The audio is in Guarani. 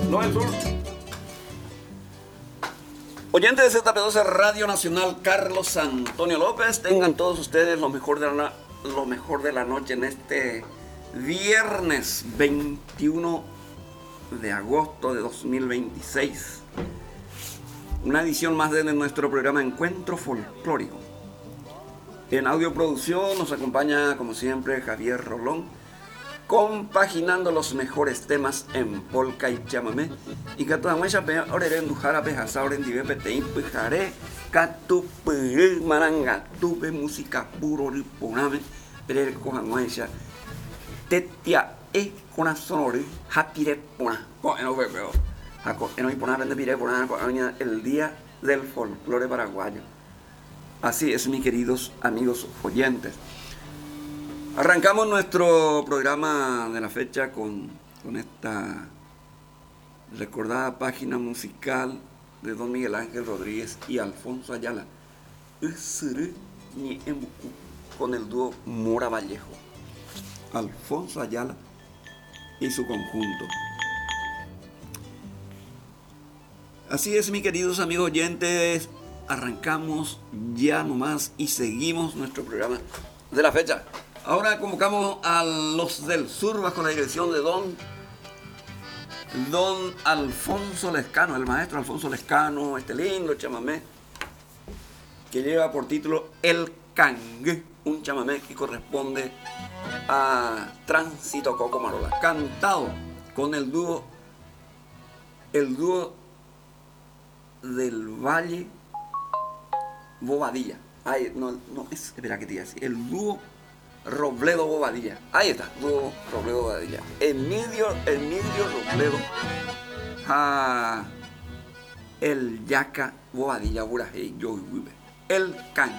No del Sur. Oyentes de ZP12 Radio Nacional, Carlos Antonio López, tengan todos ustedes lo mejor de la, lo mejor de la noche en este viernes 21 de agosto de 2026. Una edición más de nuestro programa Encuentro Folclórico. En audio producción nos acompaña, como siempre, Javier Rolón, compaginando los mejores temas en polka y chamamé. Y katu hag̃uáicha peẽ orerenduhára pehasa orendive peteĩ pyhare katupyry marangatúpe música puro ryporãme perereko hag̃uáicha tetia'e korasõ rory ha pire porã. Ko'ẽrõ upépe ha ko'ẽrõ iporã pende pire porã ko'ẽrõ el día del folklore paraguayo. Así es, mis queridos amigos oyentes. Arrancamos nuestro programa de la fecha con, con esta recordada página musical de don Miguel Ángel Rodríguez y Alfonso Ayala. Ysyry Ñe'ẽmbuku con el dúo Mora Vallejo. Alfonso Ayala y su conjunto. Así es, mis queridos amigos oyentes, arrancamos ya nomás y seguimos nuestro programa de la fecha. Ahora convocamos a los del sur bajo la dirección de don, don Alfonso Lescano, el maestro Alfonso Lescano, este lindo chamamé, que lleva por título El Cangue, un chamamé que corresponde a Tránsito Coco Marola, cantado con el dúo, el dúo del Valle Bobadilla. Ay, no, no, es, espera que te diga así. El dúo Robledo Bobadilla. Ahí está, dúo Robledo Bobadilla. Emilio, Emilio Robledo. Ah, el Yaca Bobadilla Burajei Yo El Cangue.